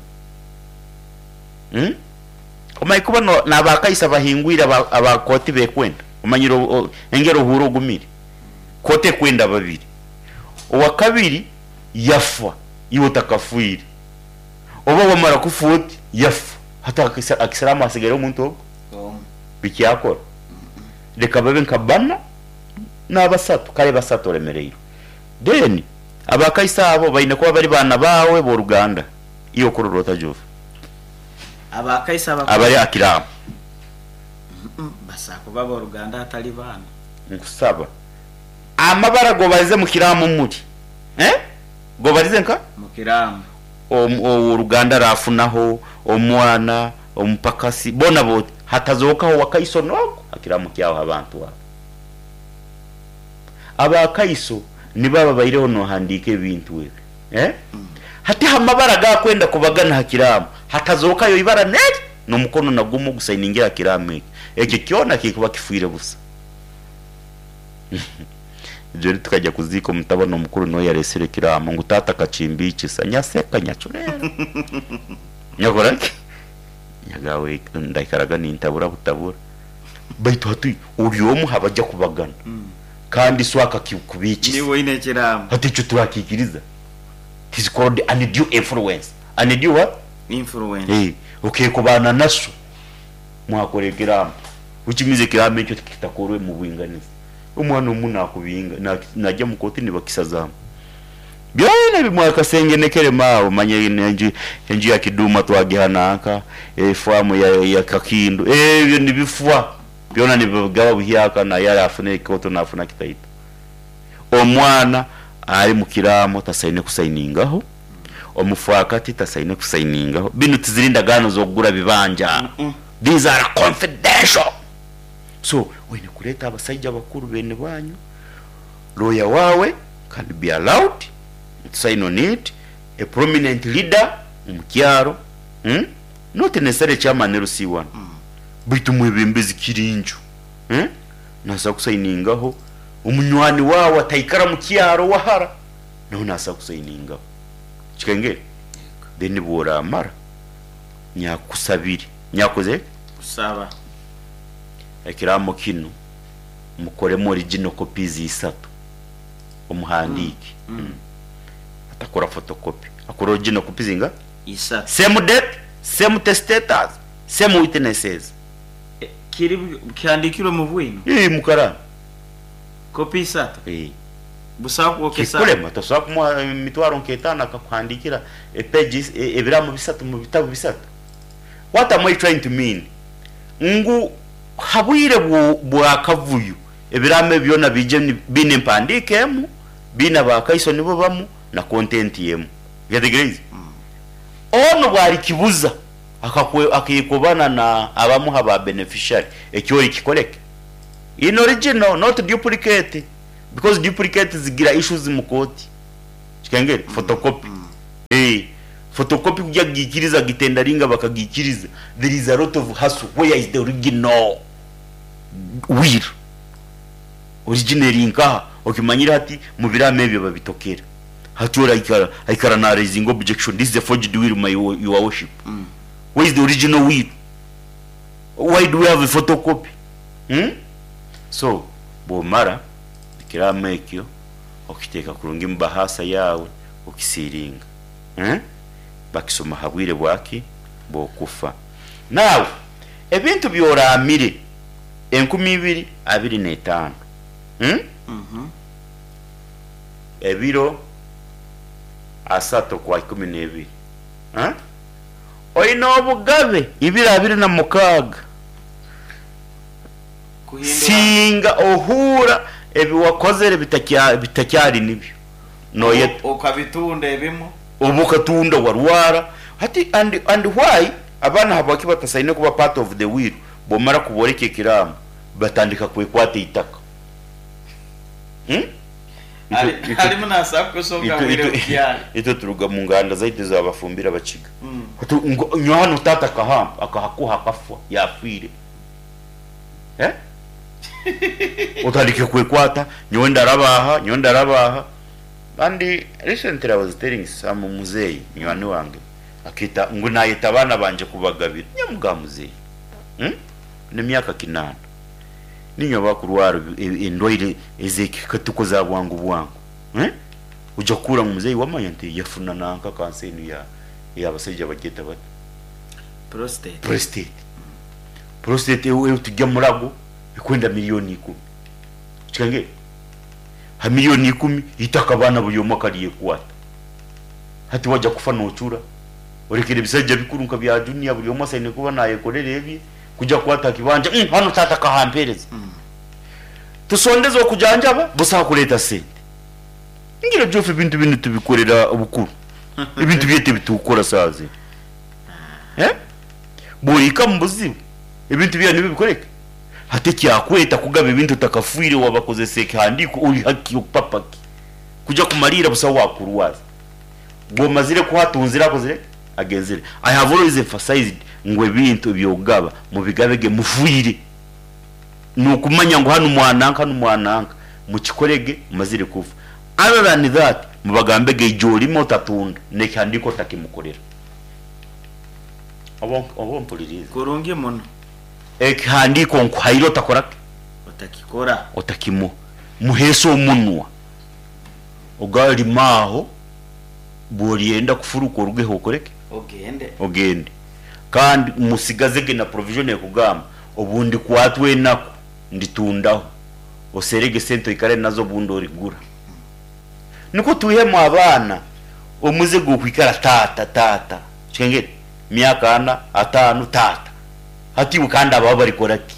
Omanyire kuba n'abakaisi abahingwire aba kooti bekwenda? Omanyire engeri ohuura ogumire? Kooti ekwenda babiri. Owakabiri yafa iwe otakafwire, oba wamara kufa oti yafa, hati akisiramu hasigaireho omuntu ogwo? Omu. Bikyakora? Leka babe nka bana nabasatu, kare basatu oremereirwe. Then abakaisi abo baine kuba bari baana baawe b'oruganda. Iwe okurora ota Jove? Abakaiso abakuru. Abari aha kiraamu. Basaa kuba ab'oruganda hatari baana. Nkusaba amabara gobarize mu kiraamu muri eh gobarize nka? Mu kiraamu. Ow'oruganda arafunaho, omwana, omupakasi, boona booti hatazookaho owakaiso n'ogu ha kiraamu kyawe ha bantu abo. Abakaiso nibo ababaireho nohandiika ebintu ebi. Eh? Hati ha mabara agakwenda kubagana ha kiraamo, hatazookayo ibara n'eri n'omukono na gumu ogusayiningire ha kiraamo ekyo. Ekyo kyona kikuba kifwire busa. Jori tukaija kuziika omutabani omukuru niwe yareesire ekiraamo ngu taata akakimbiikisa. Nyaseka nyacureera. Nyakora ki? Nyagaawe ndaikaraga nintabura butabura. Baitu hati ori omu ha baja kubagana. Kandi so akakikubiikisa. Niiwe oine ekiraamo. Hati ekyo turakiikiriza? It is called undue influence. Undue what? Influence. Eh, okekobaana na so mwakora ekiraamo which means ekiraamo ekyo tikitakorwe mu bwinganiza. Omwana omu nakubinga najya mu kooti nibakisazaamu. Byona ebi mwakasengenekeremu aho manya enju enju ya Kiduma twagiha nanka, efaamu ya ya Kakindu, ebyo nibifwa. Byona nibigaba buhyaka naye arafuna ekikoto nafuna kitaito. Omwana ari mu kiraamo tasaine kusainingaho, omufaakati tasaine kusainingaho. Binu tiziri ndagaano z'okugura bibanja. These are confidential. So oine kureeta abasaija bakuru beene banyu, lawyer waawe can be allowed to sign on it, a prominent leader omu kyaro, not necessarily chairman LC1. Baitu omwebembezi Kirinju naasa kusayiningaho, omunywani waawe ataikara mu kyaro wahara nawe naasa kusayiningaho. Kikengeri? Then obu oraamara, nyakusabire, nyakukozire ki? Kusaba. Ekiraamo kinu mukoremu original copies isatu, omuhandiike. Atakora photocopy, akore original copies inga? Isatu. Same date, same testators. Same witnesses. Kiri kihandikirwe mu bwino? Ii, mu karaamu. Kopi isatu? Ii. Busaho kwokesa? Kikulema, tosobola kumuha emitwaro nk'etaano akakuhandikira e pages, ebiraamo bisatu mu bitabu bisatu. What am I trying to mean? Ngu ha bwire bw'akavuyo, ebiraamo ebi byona biije biine empandiika emu, biine abakaiso nibo bamu, na content emu. Okyetegereize? Onu bwarikibuza akekobana na abamu ha ba beneficiary eki orikikoreke in original not duplicate because duplicate zigira issues mu kooti kikengere photocopy eeh photocopy kugya kugikiriza gitendaringa bakagikiriza there is a lot of hustle where is the original will original eri nkaha okimanyire hati mubiraamo ebyo babitokera. Hati ori aikara aikara na raisinga objection this is a forged will my your worship where is the original will why do we have a photocopy hmm? So bwomara ekiraamo ekyo okiteeka kurungi mu bahaasa yaawe okisiiringa eh? Bakisoma ha bwire bwaki? Bw'okufa. Now ebintu byoraamire 2025 hmm? Ebiro asatu okwa ikumineebiri. Oine obugabe ibiri 26 Singa ohuura ebi wakozere bitakyari nibyo, noyeta. Okabitunda ebimwe. Oba okatunda warwara. Hati and and why abaana habwaki batasaine kuba part of the will, bwomara kuboreka ekiraamo batandika kwekwata eitaka. Harimu naabaasa kukushoka bwire bukyari. Itwe turuga mu nganda zaitu ez'abafumbire Abakiga. Nyowe hanu taata akahampa, akahakuha akafwa, yaafiire. Otandike kwekwata, nyowe ndaraba aha, nyowe ndaraba aha. And recently I was telling some muzeeyi munywani wange, akeeta ngu naayeta abaana bangye kubagabira. Nyamugaha muzeeyi, n'emyaka kinaana. Niinywe abakurwara endwaire ez'ekikatuko za bwangu bwangu, oija kuhurra ngu muzeeyi wamanya nti yafuna nanka kansa enu ey'abasaija bagyeta bata? Prostate. Prostate. Prostate ei turya murago ekwenda milioni ikumi. Okikangire? Ha milioni ikumi eitaka abaana buri omwe akaryekwata. Hati waija kufa noocura, orekere ebisaija bikuru nka bya Junior buri omwe asaine kuba naayekorera ebye. Kuja kukwata aha kibanja, umm hanu taata akahampeereza. Tusondeze okujanjaba, busaho kureeta sente. Ngira Geoff ebintu binu tubikorera bukuru. Ebintu byaitu ebi tukukora saaha zinu. Eh? Bw'ohika omu buzibu, ebintu byawe nibyo bikore ki? Hati ekyakweta kugaba ebintu otakafiire wabakozesa ekihandiiko ori haki okupapa ki? Kuja kumariira busaho waakurwaza. Bw'omazire kuha atunzire akozire ki? Agenzire. I have always emphasized ngu ebintu eby'okugaba mubigabe ge mufwire. N'okumanya ngu hanu mwananka hanu mwananka, mukikore ge mumazire kufa. Other than that, mubagambe ge ija orime otatunda, n'ekihandiiko otakimukorera. Oba oba ompuririize? Kurungi muno. Ekihandiiko nkuhaire otakora ki? Otakikora. Otakimuha. Muheese omunwa. Ogarime aho, bw'oryenda kufuruka orugeho okore ki? Ogende. Ogende. Kandi musigaze ge na provision ekugamba, obu ndikwatwa enaku, nditundaho. Oserege sente oikare nazo obundi origura. Nikwo twihemu abaana omuze gw'okwikara taata, taata. Okihengere? Myaka ana, ataano, taata. Hati iwe kandi abawe barikora ki?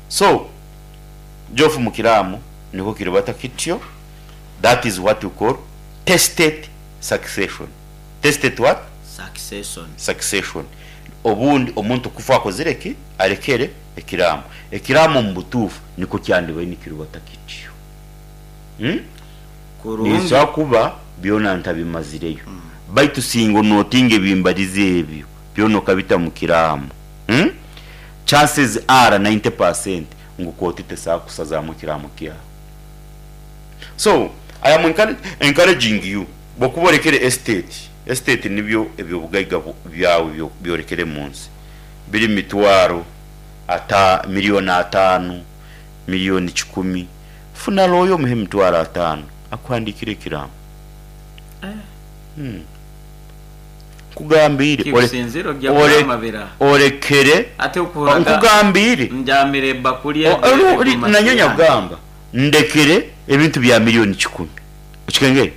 So, Geoff Mukiraamo nikwo kiribata kityo, that is what we call testate succession. Testate what? Succession. Succession. Obundi omuntu kufa akozire ki? Arekere ekiraamo. Ekiraamo omu butuufu nikwo kyandibaire nikiribata kityo. Hmm? Kurungi. Ninsobola kuba byona ntabimazireyo. Baitu singa onotinga ebimbarize ebyo byona okabita mu kiraamo. Hmm? Chances are 90% ngu kooti tesobola kukusazaamu ekiraamo kyawe. So, I am encouraging you, bwokuba orekere estate, estate nibyo ebyobugaiga byawe byorekere munsi, biri mitwaro ata, milioni ataano, milioni kikumi, funa lawyer omuhe emitwaro ataano akuhandikire ekiraamo. Nkugambiire Kikusinzire ogya kuramabira. orekere Ati okuhurira nkugambiire njamire ebakuli nanyowe nyakugamba ndekere ebintu bya milioni kikumi okikengere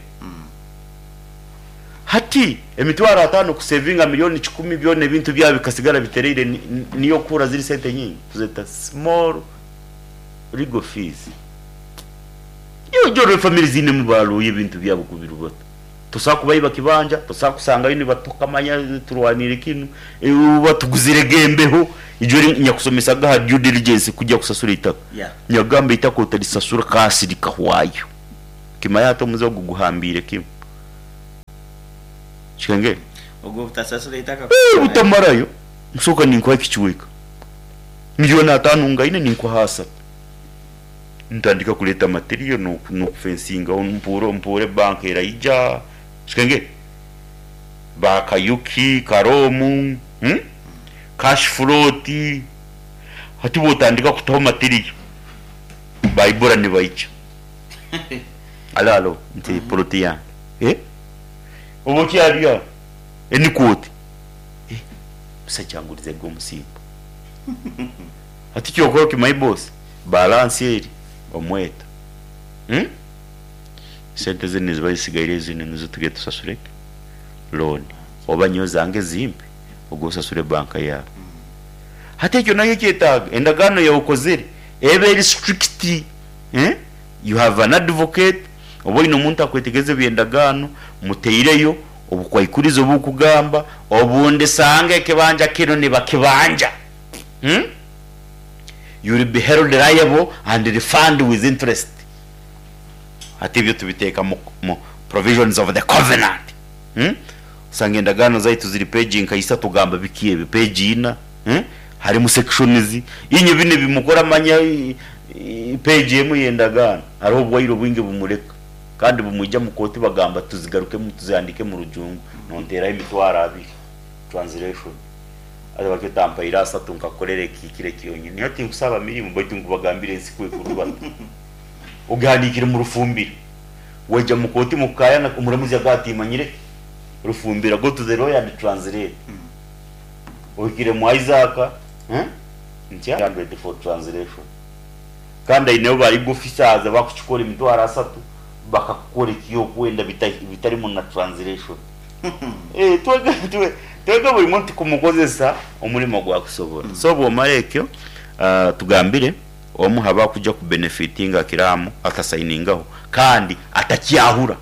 hati emitwaro ataano kusevinga milioni kikumi byona ebintu byawe bikasigara bitereire niyo okuhurra ziri sente nyingi tuzeta small legal fees. Iwe ojya orebe family ziinemu ba lawyer ebintu byabo kubirubata. Tosobola kubaiba kibanja, tosobola kusangayo nibatukamanya turwaniire kinu, batuguzire gembeho. Ijo eri nyakusomesaga aha due diligence kugya kusasura eitaka. Nyagamba eitaka otarisasura kasi rikahwayo. Kimanya hati omuze ogu guhambiire kimwe. Kikengere? Ogwo obutasasura eitaka Butamarayo. Nsooka ninkuha ekicweka. Milioni ataano ngaine ninkuha asatu. Ntandika kureeta material n'okufensingaho mpuure mpuure banka eraija. Kikengere? Ba Kayuki, Karoomu, cash float. Hati bw'otandika kutaho material, baibura nibaija. Alo alo nti plot yange. Eh? Oba okyari aho, enikuuti. Eh, omusajja angurizege omusimbo. Hati kyokora okimanyi boss, balance eri omweto. Hmm? Sente zinu niziba zisigaire zinu nizo tugenda tusasure ki? Loan. Oba nyowe zange zimpe, ogwo osasure banka yaawe. Hati ekyo nakyo kyetaaga endagaano yawe okozere ebe eri strict. Eh? You have an advocate, oba oine omuntu akwetegereza eby'endagaano, muteireyo obukwaikurizo obukugamba obundi sanga ekibanja kinu nibakibanja. Hmm? You will be held liable and refund with interest. Hati ebyo tubiteeka mu, mu provisions of the covenant. Hmm? Osanga endagaano zaitu ziri page nka isatu gamba biki ebi, page ina. Hmm? Harimu sections. Inywe binu ebimukora manya page emu y'endagaano. Hariho obwaire obwingi bumureka. Kandi bumwija mu kooti bagamba tuzigarukemu tuzihandiike mu rujungu. Nonteeraho emitwaro abiri. Translation. Haza batyo otampaire asatu nkakukorera ekihikire kyonyini. Nyowe tinkusaba mirimo baitu nkubagambira ensi ku ekurubata. Ogihandiikire mu rufumbira. Waija mu kooti mukukayana omuramuzi agamba timanyire ki? Rufumbira. Go to the lawyer and translate. Ohikire mu Isaac eh? Ntya 100 for translation. Kandi aineho ba legal officers abakukikora emitwaro asatu bakakukora ekyokwenda bitarimu na translation. Eh, twege twe twege buri muntu kumukozesa omurimo ogu akusobora. So bwomara ekyo, ah, tugambire omu ha bakuja ku benefitinga kiraamo atasayiningaho kandi atakyahura.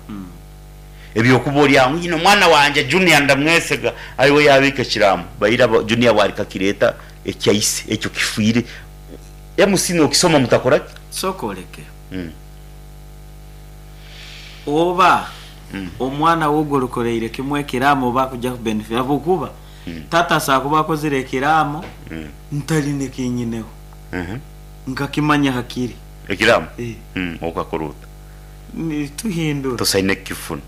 Ebyokuba ori aho ngu nyine omwana wangye Junior ndamwesiga ariwe yabiika ekiraamo, baira Junior bwarikakireta ekya ise ekyo kifiire. MC nokisoma mutakora ki? Sooka oreke. Oba omwana wo ogu orikoreire kimwe ekiraamo oba akuja ku benefit ahabw'okuba tata asobola kuba akozire ekiraamo ntarine eki nyineho nkakimanya hakiri. Ekiraamo? Okakora ota? Tuhindura. Tosaine kukifuna.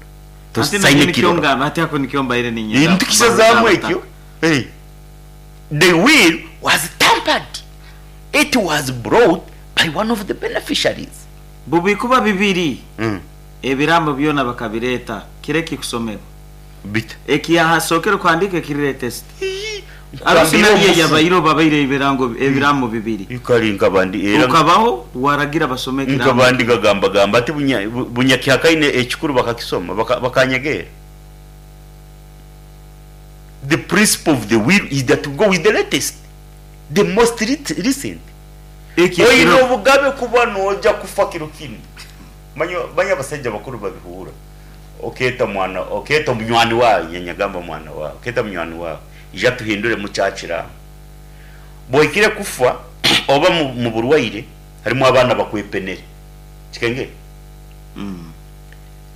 Hati nanye nikyo ngamba, hati ako nikyo mbaire niinyenda Nitukisazaamu ekyo. The will was tampered. It was brought by one of the beneficiaries. Bubikuba bibiri, ebiraamo byona bakabireeta kiro ekikusomerwa. Bita? Ekiyahasookere kuhandiika ekiri latest. Ii, Arusi nkugambire nari omufu. eyabaire obabaire ebirango ebiraamo bibiri. Kare nkaba ndi era Okabaho waragira basome ekiraamo nkaba ndi kimwe. gagambagamba ati bunya bunyakihakaine ekikuru bakakisoma baka bakanyegeera. The principle of the will is that we go with the latest. The most recent. Eki Oine ekiro. obugabe kuba noja kufa kiro kinu. Manya manya abasaija bakuru babihuura. Okeeta mwana okeeta omunywani waawe inye nyagamba mwana waawe okeeta munywani waawe ija tuhinduremu kya kiraamo. Bwohikire kufa oba mu muburwaire harimu abaana bakwepenere. Kikengere?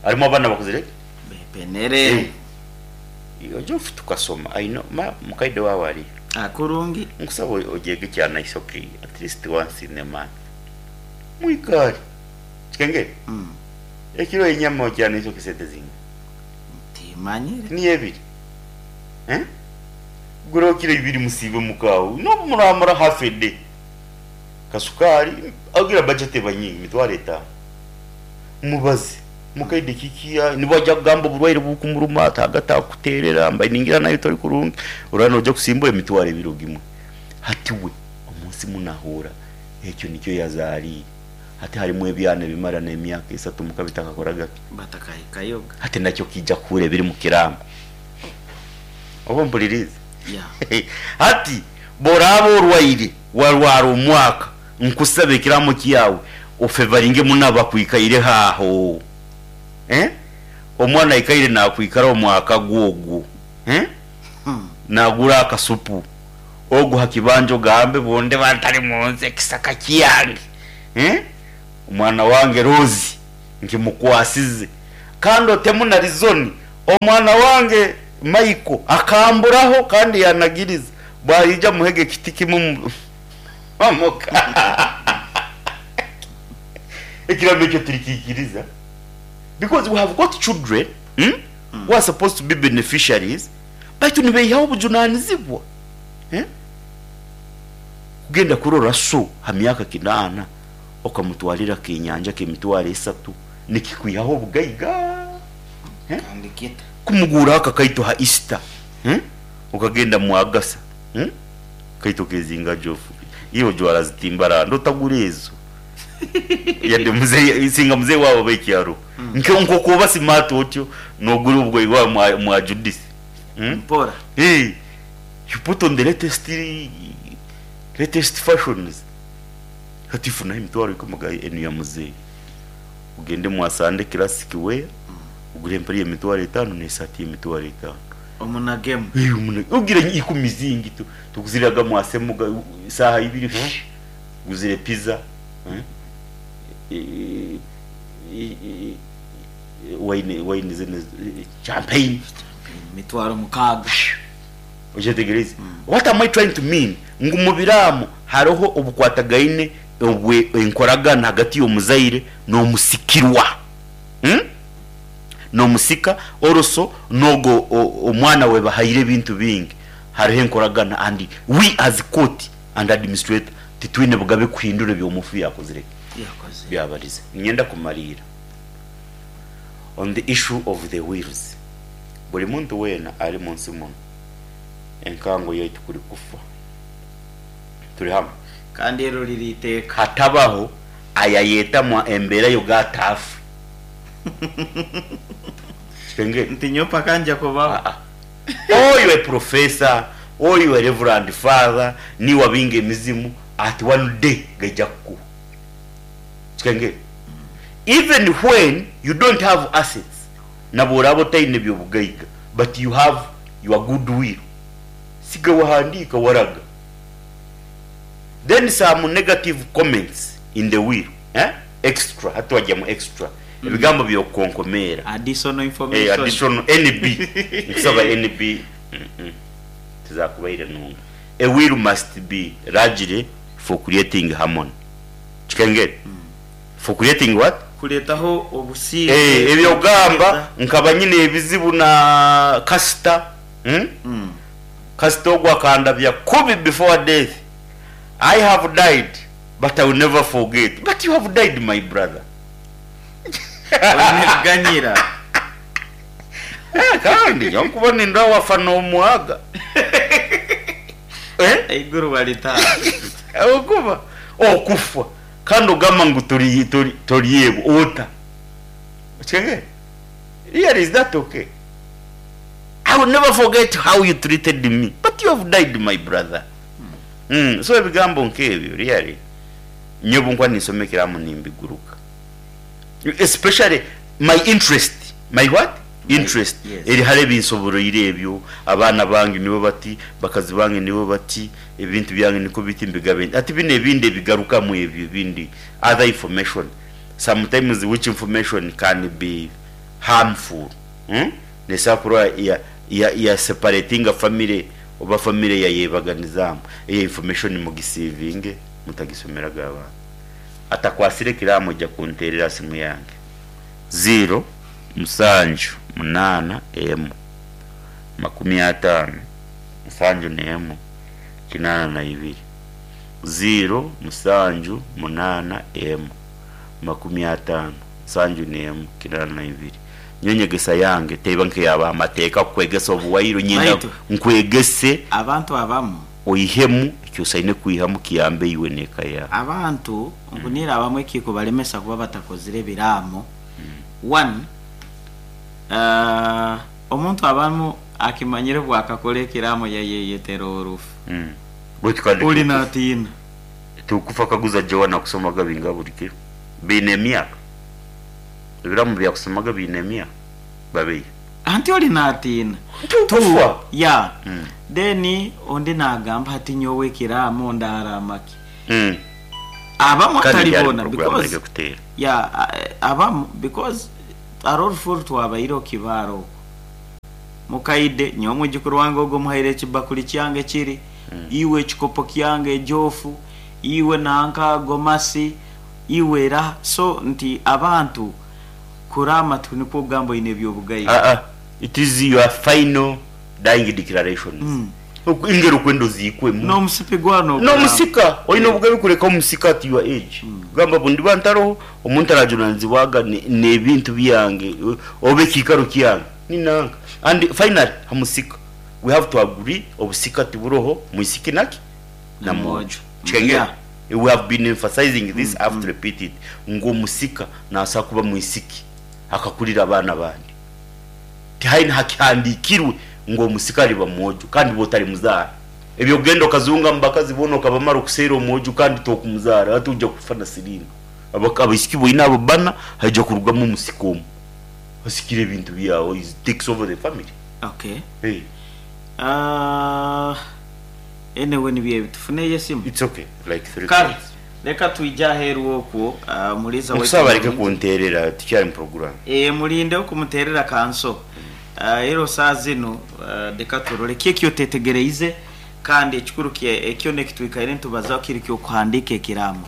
Harimu abaana bakozire ki? Bepenere. Oje ofe tukasoma I know ma mukaide waawe ariha? Kurungi. Nkusaba ogyege kyanaishoki at least once in a month. Mwikare. Kikengere? Ekiro enyama okyanaishoki sente zinga? Timanyire. Niyo ebiri. Eh? Guraho kiro ibiri musiibe muka aho. Nobu muramara half a day. Kasukari ogira budget eba nyingi mitwaro etaano. Mubaze. Mukaide kiki nibwo aija kugamba oburwaire bukumuruma ataaga atakuterera mbaire ningira naiwe tori kurungi oraba noija kusimbura emitwaro ebiri ogimwe. Hati we omunsi munahuura ekyo nikyo yazariire. Hati harimu ebyana ebimara n'emyaka esatu muka bitakakoraga ki? Batakahikayoga. Hati nakyo kiija kuhuura ebiri mu kiraamo. Oba ompuririize? Yeah. Hati bworaaba orwaire warwara omwaka Nkusaba ekiraamo kyawe ofevaringe muno abakwikaireho aho. Eh? Omwana aikaire nakwikara omwaka gwo ogwo eh nagura akasupu ogu ha kibanja ogambe bwondiba ntari munsi ekisaka kyange eh omwana wange Rose nkimukwasize kandi otemu na rizoni omwana wange Michael akamburaho kandi yanagiriza bwayija muhege ekiti kimwe omuka ekiramo ekyo turikikiriza. Because we have got children who are supposed to be beneficiaries baitu nibeihaho obujunanizibwa eh? Kugenda kurora so ha myaka kinaana okamutwarira akenyanja k'emitwaro esatu nikikwihaho obugaiga eh? Kandi kita. Kumuguuraho akakaito ha Easter eh? Okagenda mwagasa eh? Kaito kezinga jofu iwe ojwara zitimbaranda otagura ezo. Yadde muzei singa muzei waabo oba ekyaro nke nkoku oba smart otyo nogura obugoye bwawe mwa mwa Judith hmm? Mpora. Hey, you put on the latest latest fashions hati funaho emitwaro ikumi ga enu ya muzei ogende mwa Sunday classic wear ogure empare y'emitwaro etano n'esaati y'emitwaro etano. Omunagemu. Hey, omuna ogira ikumi zingi tu tukuziraga mwa Semuga saaha ibiri Guzire pizza, wine wine zinu champagne. Emitwaro mukaaga. Okyetegereize? What am I trying to mean? Ngu mu biraamo hariho obukwatagaine obwe enkoragana hagati y'omuzaire n'omusikirwa. N'omusika also n'ogwo omwana we bahaire ebintu bingi hariho enkoragana and we as court and administrator titwine bugabe kuhindura ebi omufu yakozire ki? Yakozire. Byabarize. Niinyenda kumariira on the issue of the wills. Buri muntu weena ari munsi munu enkango yaitu kuri kufa turi hamwe. Kandi ero riri iteeka. Hatabaho ayayetamwa embeera yoga ataafe. Kikengeri. Nti nyowe paka ngya kubaho. Aa. Oyo e professor, oyo e reverand father, niiwe abinga emizimu, at one day gaija kukuhwa. Kikengeri. Even when you don't have assets, nabworaaba otaine byobugaiga, but you have your good will, siga wahandiika waraga. Then some negative comments in the will, eh, extra, hati twagyamu extra, ebigambo byokukonkomeera. Additional Eh, information. additional NB nkusaba NB tizakubaire nungi. A will must be largely for creating harmony. Kikengeri? For creating what? Kureetaho obusinge. Eh, ebyokugamba nkaba nyine ebizibu na kasita hmm? Kasita ogwo akandabya kubi before death. I have died but I will never forget. But you have died my brother. Oine kuganyira. Kandi nyowe nkuba nindora wafa nomwaga. Eh? Eiguru baritaaha. Ahabw'okuba okufa kandi ogamba ngu tori tori toryebwa ota? Okitegeera? Really is that okay? I will never forget how you treated me but you have died my brother. So ebigambo nk'ebyo really nyowe obu nkuba ninsoma ekiraamo nimbiguruka. Especially my interest, my what? Interest Yes. eri hare ebinsoboroire ebyo, abaana bange nibo bati, bakazi bange nibo bati, ebintu byange nikwo biti mbigabe nti. Hati binu ebindi ebigarukamu ebyo ebindi other information sometimes which information can be harmful nesobola kuba ya ya ya separatinga family oba family yayebaganizamu, eyo information mugisiivinge mutagisomeraga abaana. Atakwasire ekiraamo oija kunteerera aha simu yange ziiro musanju munaana emwe 50 71 82 ziiro musanju munaana emwe 50 71 82 Nyowe enyegesa yange teba nk'eya b'amateeka kukwegesa obuwaire nyenda Baitu. nkwegese Abantu abamu. Oihemu eki osaine kwihamu kiyambe iwe n'eka yaawe. Abantu ngu abamwe ekirikubaremesa kuba batakozire ebiraamo, one, omuntu abamu akimanyire obu akakora ekiraamo yayeyetera orufu. Baitu kandi Ori natiina. Tukufa kaguza Joana kusomaga bingaha buri kiro? Biine emyaka? Ebiraamo byakusomaga biine emyaka? Babeiha. Anti ori natiina. Tu ya. Then ondi nagamba hati nyowe ekiraamo ndaraama ki? Abamu Kandi atari ryari boona program because areke kuteera. ya abamu because hariho orufu oru twabaire okibaara okwo. Mukaide nyowe omwijukuru wange ogu omuhaire ekibakuri kyange kiri, iwe ekikopo kyange ejofu, iwe nanka gomasi, iwe eraha so nti abantu Kuraama tinikwo kugamba oine eby'obugaiga. Aa, it is your final dying declarations. Engeri okwenda oziikwemu. N'omusipi gwa n'okuraama. N'omusika, oine obugabe kureka omusika at your age. Kugamba bu ndiba ntaroho, omuntu arajunanizibwaga n'ebintu byange oba ekiikaro kyange ni nanka. And finally, ha musika, we have to agree obusika tiburoho mwisiki naki? Na mwojo. Kikengera? We have been emphasizing this, I have to repeat it, ngu omusika nasobola kuba mwisiki akakurira abaana abandi. Tihaine hakihandikirwe ngu omusika aliba mwojo kandi iwe otalimuzaara. Eby'okugenda okazunga omu bakazi boona okabamara okuseera omwojo kandi tokumuzaara, hati oija kufa na siriimu. Abaisiki boine abo bbana haija kurugamu omusika omu asikire ebintu byawe, he takes over the family. Okay. Hey. Aah anyway nibyo ebi tufuneyo esimu. It's okay like 3 Kale calls. reka twije aheeru okwo omuliisa waitu Nkusaba areke omurungi. kunterera tukyari mu program. Eeh murindeho kumuterera kanso. Ero saaha zinu reka turore ki eki otetegereize kandi ekikuru kyona eki twikaire nitubazaho kiri ky'okuhandiika ekiraamo.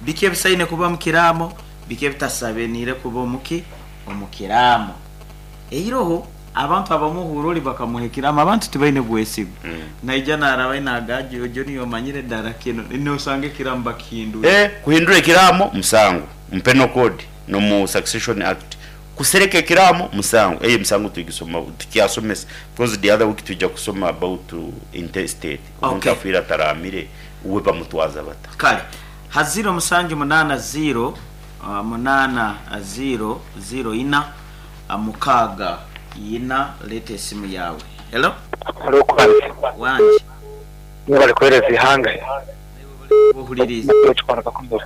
Biki ebisaine kuba omu kiraamo, biki ebitasabeniire kuba omu ki? Omu kiraamo. Eiroho abantu abamwe ohuura ori bakamuha ekiraamo abantu tibaine bwesigwa. Naija naarabayo naaga ojo niiwe omanyire dara kinu nosanga ekiraamo bakihindwire. Eh kuhindura ekiraamo musango mu penal code nomu succession act kusereka ekiraamo musango eyo emisango tugisoma tukyasomesa because the other week twija kusoma about intestate omuntu Okay. afiire ataraamire we bamutwaza bata. Kale ha ziiro musanju munaana ziiro munaana ziiro ziiro ina mukaaga ina leeta esimu yaawe. Hello. Hello Kwanzi. Wangi. Mwebale kuhereza eihanga. Naiwe webale kuba ohuririize. Matayo Kikora Kakumiro.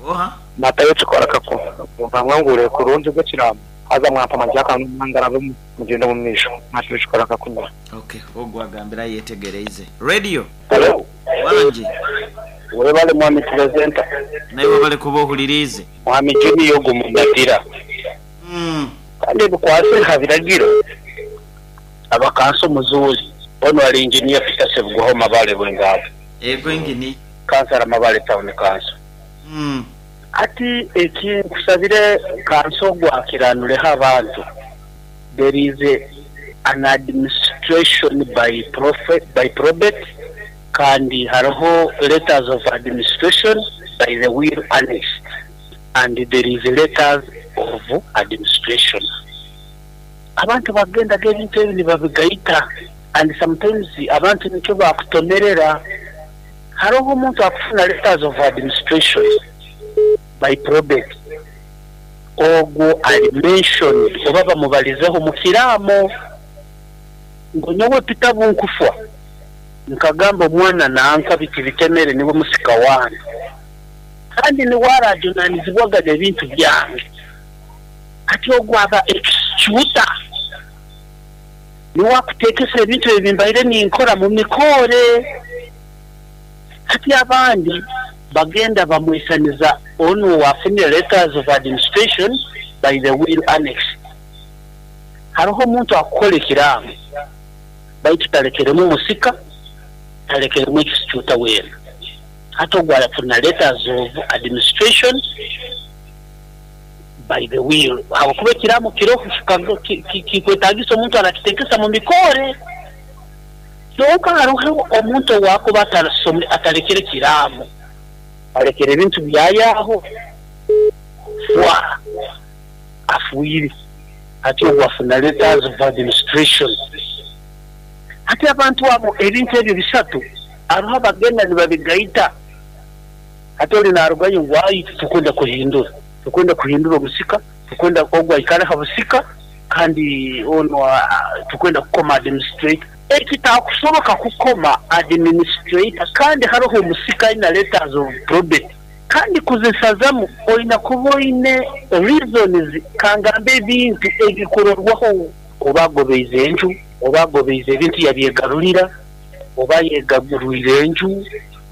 Oha? Matayo Kikora Kakumiro. Mumpa kurungi ogw'ekiraamo haza mwampa amagye n'omwangarabe mugyende omu maisho. Matayo Kikora Kakumiro. Okay, ogwo agambire ayetegereize. Radio. Hello. Wangi. Webale mwami Purezenta. Naiwe webale kuba ohuririize. Mwami Junior ogu Mumatira. Kandi ebikwasire ha biragiro, Abakanso Muzuuli, onu ari Engineer Peter Ssebugwaho Mabale Bwengabo. Ego Engineer. Kansala Mabale Town Council. Hati eki nkusabire kanso ogu akiranureho abantu, there is an administration by by probate kandi hariho letters of administration by the will annexed. And there is letters of administration. Abantu bagendaga ebintu ebi nibabigaita and sometimes abantu nikyo bakutomerera. Haroho omuntu akufuna letters of administration by probate, ogwo ari mentioned oba bamubarizeho omu kiraamo ngu nyowe Peter Bunkufwa nkagamba omwana nanka biti bitemere niwe musika wange. Kandi niwe araajunanizibwaga n'ebintu byange. Hati ogwo aba executor, niwe akuteekesa ebintu ebi mbaire ninkora mu mikoore. Hati abandi bagenda bamwisaniza onu owaafunire letters of administration by the will annexed. Hariho omuntu akukora ekiraamo baitu talekeremu musika, talekeremu executor weena. Hati ogwo arafuna letters of administration by the will ahabw'okuba ekiraamo kiroho kikwetagisa omuntu arakitekesa mu mikoore. Kyonka haroho omuntu owakuba atalekere kiraamo, alekere ebintu byayo aho fwa afwire. Hati ogwo afuna letters of administration. Hati abantu abo ebintu ebyo bisatu hariho abagenda nibabigaita. Hati ori narugayo ngu ai titukwenda kuhindura, tukwenda kuhindura obusika, tukwenda ogu aikare aha busika kandi onu tukwenda kukoma administrator. Ekitakusoboka kukoma administrator kandi haroho omusika aine letters of probate. Kandi kuzisazamu oine kuba oine reasons kangambe ebintu ebikurorwaho oba agobeize enju, oba agobeize ebintu yabyegarurira, oba ayegarwire enju,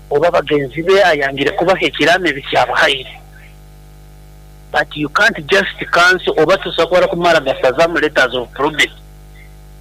oba bagenzi be ayangire kubaha ekiraamo ebi kyabahaire. But you can't just cancel oba tosobora kumara gasazamu letters of probate.